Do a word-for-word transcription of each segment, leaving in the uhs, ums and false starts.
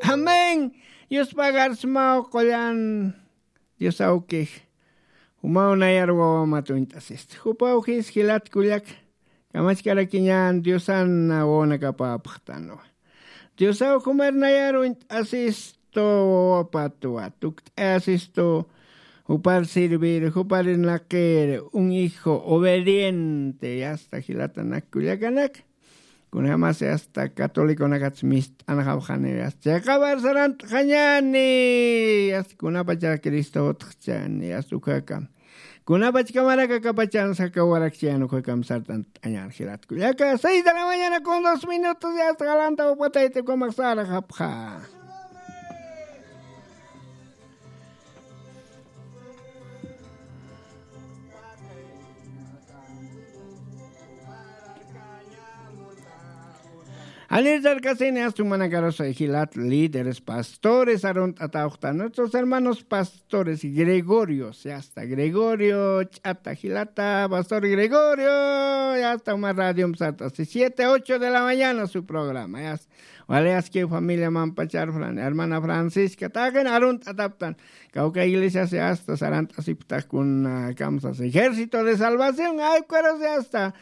Amén. Yuspagarsimaw qullan. Dios awkix. Jumaw nayar wawamat uñt'asista. Jupaw jis jilat kullaka. Kamachkarakiñan Diosan wawanakapäpxtanwa. Diosaw jumar nayar uñt'asistu wawapatwa. Tukt'ayasistu jupar servir, jupar irnaqir, un hijo obediente, yasta jilatanak kullakanaka. Kunjamasi hasta catoliconakatsa mist'anxapxani, hasta chayqabar sarant'xañani, hasta kunapachar Cristo utxchani, hasta ukakam. Kunapachkamarak akapachan sakawarakchayan ukakam sart'ant'añan jilat kullaka. Seis de la mañana con dos minutos, ya hasta galanta upatayta ukamak sarxapxa. Anir sarkasini astu manakarusa jilat líderes, pastores, arunt'atawxta nuestros hermanos pastores Gregorio, ya está Gregorio, ch'ata jilata, pastor Gregorio, ya está uma radio sart'asi siete, ocho de la mañana su programa, ya está. Wali aski familia mampachar Fran, hermana Francisca, taqin arunt'ataptan. Kawka iglesiasi hasta sarant'asipxtax kun, ah, kamsas Ejército de Salvación, ay, ukarusi hasta.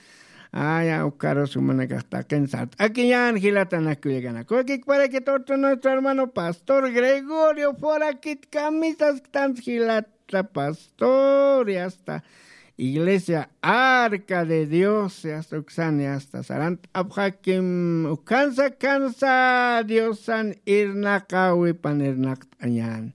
Ay, ukarusi manakax taqin sart'akiñan jilatanak kullakanak. Wakik para que torto nuestro hermano pastor Gregorio Foraquit camisas tan jilat. Pastor, ya está. Iglesia Arca de Dios, ya está, uksan, ya está. Sarant'apxakim, ukansa, kansa, Diosan irnaqawi pan irnaqt'añan.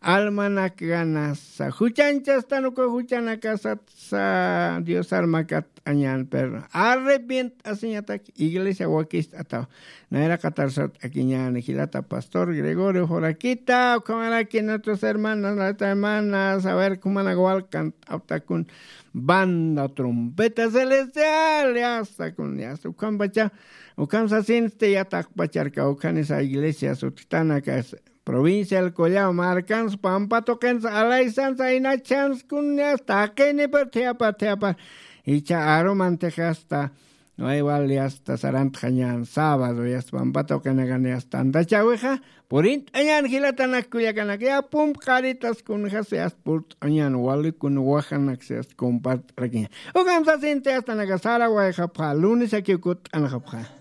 Almanak ganasa, juchanchastan uka juchanakasatsa, Dios armakat añan, pero arrepient'asiñatak iglesia wakist'ataw. Nayra qatar sart'akiñan jilata pastor Gregorio Foraquita, ukhamaraki nuestros hermanos, nuestras hermanas, a ver, kumanak walkant'aptakun banda trompeta celestial, ya está, kun, ya está, ukhampacha, ukham sasinsti yataqpacharka, ukhanisa iglesia sutjtanaka, provincia del Collao, markans, pampa tuqins, alaysan, saynachans, kun, ya está, taqini, pero thiapa, thiapa, icha arumantix hasta, no hay wal, ya está, sarantxañan, sábado, ya está, pampa tuqinakan, ya está, antachawixa, purint'añan jilatanak kullakanak, ya pump qaritas kunjas, ya está, purt'añan, wali kun wajanak, ya está, compart'arakiña. Ukham sasinti, ya está, naka sara wayxapxa, lunes aki ukut'anxapxa.